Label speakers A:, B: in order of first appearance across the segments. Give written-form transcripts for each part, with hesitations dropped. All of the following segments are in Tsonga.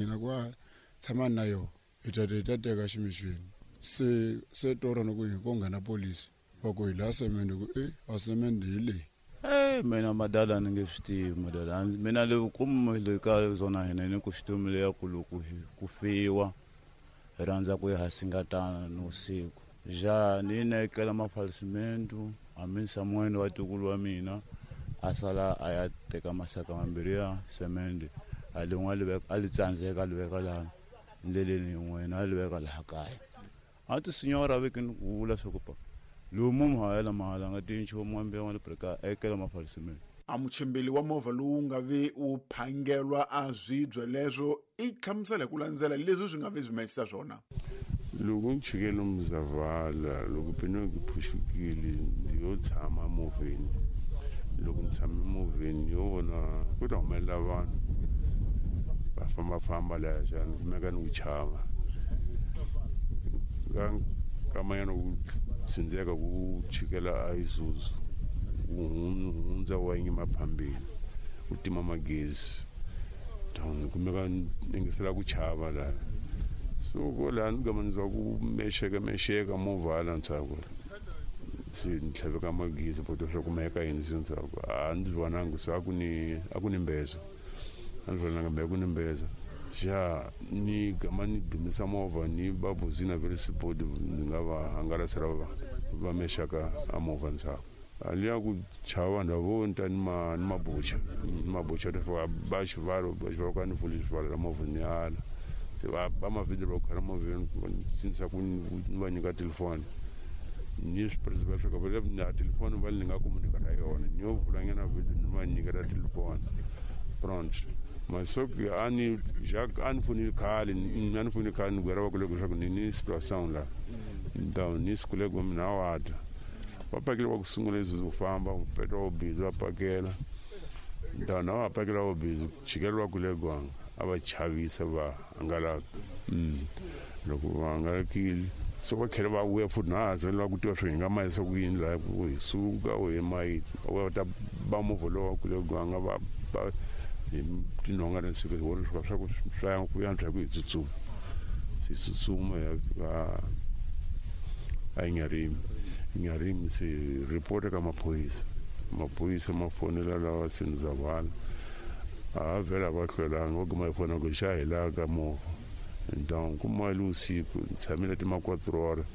A: Mina ku a tshamani na yona hi ta hi ta teka ximixweni se se torha ni ku hi ko nghena polisi va ku hi laha semende ku e a semende hi leyi.
B: Mina madala ni nge swi tivi madala mina le vukumu le ka zona hina ni ku xitomi leya ku loko ku fiwa hi rhandza ku ya hasingatana ni usiku ja ni nekela mafalisimentu hambi Samuel wa tukulu wa mina a sala a ya teka masaka mambirhi ya semende a lin'we a li veka a li tsandzeka a li veka laha ndleleni yin'wana a li veka laha kaya a ti sinyora veke ni ku vula swa ku pa lowu munhu a yela mahala nga tiyi nchumu wa mbewu wa le preka ekela mafalisimentu.
C: A muchimbeli wa movha lowu nga ve wu phangelwa a swibye leswo i hlamusela hi ku landzela leswi swi nga ve swi mahisa swona.
D: Loko ni chikele Mzavala loko pinoki phuxukile ndzi yo tshama movheni loko ni tshame movheni ni yo vona ku ta humelela vanhu va fambafamba laya xana ni kumeka ni ku chava ka nkamanyana ku tsindzeka ku chikela a Isuzu wu hundza wa yima phambili wu tima magezi ni kumeka ni yingisela ku chava laha so ko laha ni gama ni twa ku mexeka mexeka movha hala ndzhaku se ni tlhaveka magezi poto swa kumeka yini se ndzhaku a ndzi vonangi se a ku ni mbeza a ndzi vonanga mbe a ku ni mbeza xa ni gama ni dumisa movha ni va buzina ve ri sipoti ni nga va hangalasela va mexaka a movha ndzhaku a liya ku chava vanhu vo ni ta ni ma ni mabucha ni mabucha ta fika ba xivalo ba xivalo ka ni pfuli xivalo la movha ni ala se va ba mavhidhi va khwela movheni sinisa ku ni va nyika telefoni ni swi principal swa ka va na telefoni va ni nga komunika na yona ni yo vulanyana vhidhi ni va nyikela telefoni pronto masoki a ni Jacques a ni fonile khale a ni fonile khale ni gwera va kule leswaku ni ni situation la então ni sikule ku mina wa ta va pakele va ku sungula leswi ku famba petwa vo busy va pakela então na va pakela vo busy chikelo va kule gwanga a va chavisa va hangalaka loko va hangalakile so va tlhela va vuya futhi na ha zela ku tiva swi hi nga mayisa ku yini laha ku hi suka u hi mayi va ta ba movha lowu wa kule gwanga va ba hi tinhonga na siku hi vona swa ku swa ku yantswa hi ku hi tsutsuma se tsutsuma ya fika a Nyarimi Nyarimi se report ka maphorisa maphorisa ma fonela lawa Senizavala a vhela va hlwelanga va kuma hi fona ku xa hi laha ka movha então kuma le usiku ni tshamile ti ma 4 horas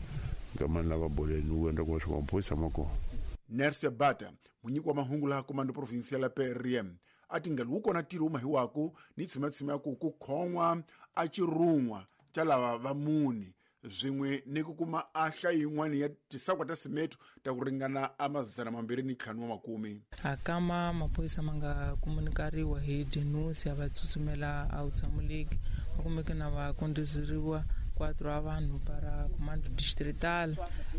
D: nkamani lava boleni wu endla kuma swa maphorisa ma kona.
C: Nercia Bata, munyiki wa mahungu laha Comando Provincial ya PRM, a tingelo wu kona ntirho wu mahiwaku ni tshimatsima ya ku ku khon'wa a xirhun'wa xa lava va mune swin'we ni ku kuma a hlayo yin'wana ya tisakwa ta simeto ta ku ringana a 250.
E: A kama maphorisa ma nga komunikariwa hi denusi a va tsutsumela a vutshamo-leki va kumeke na va kondozeriwa 4 a vanhu para comando distrital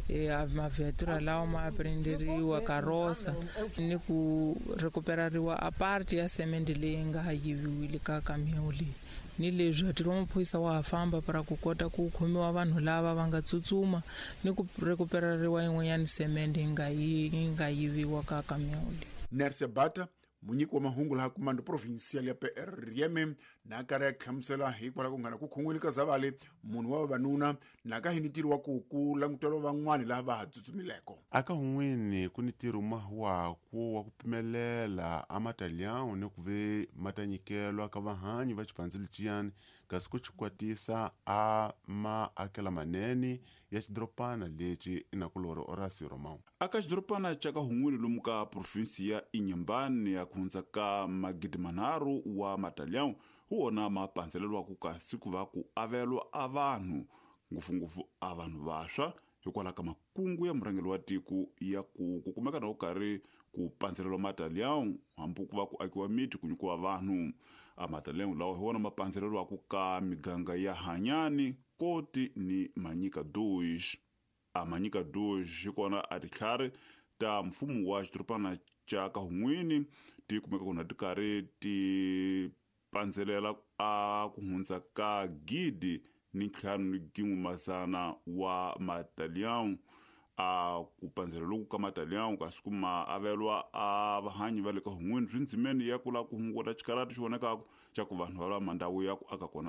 E: a maviatura lawa ma aprenderiwa karosa ni ku recuperariwa a parte ya semende leyi nga yiviwile ka kamion leyi ni leswi ntirho wa maphorisa wa ha famba para ku kota ku khomiwa vanhu lava va nga tsutsuma ni ku recuperariwa yin'wanyana semende yi nga yiviwa ka kamion leyi.
C: Nercia Bata, munyiki wa mahungu laha Comando Provincial ya PRM, na karhi ya hlamusela hikwalaho ku nghena ku khon'wile ka Zavale munhu wa vavanuna na ka hi ni ntirho wa ku ku languteriwa van'wana laha va ha tsutsumileko.
F: Aka hun'wini ku ni ntirho mahuwaku wa ku pimelela a matalhão ni ku ve ma ta nyikelwa ka vahanyi va xipandzhe leciyani kasi ku xikwatisa a maakela manene ya xidoropana lexi inakulori Horacio Romão.
G: Aka xidoropana xa ka hun'wini lomu ka provinsi ya Inhambane ya ku hundza ka 3,000 wa matalhão hi wona ma pandzelelwaku kasi ku va ku avelwa a vanhu ngopfungopfu a vanhu vantshwa hikwalaho ka makungu ya murhangeri wa tiko ya ku ku kumeka na ku karhi ku pandzelelwa matalhão hambi ku va ku akiwa miti ku nyikiwa vanhu a matalhão lawa hi wona ma pandzelelwaku ka miganga ya Hanyani Koti ni Manyika Dois a Manyika Dois hi kona a titlhari ta mfumo wa xidorobana xa ka Hun'wini ti kumeka kona ti karhi ti pandzelela a ku hundza ka 1,500 wa matalhão a ku pandzela loku ka matalhão kasi ku ma avelwa a vahanyi va le ka Hun'wini swi ndzimeni ya ku lava ku hunguta xikarati xi vonekaka xa ku vanhu va lava mandhawu ya ku aka kona.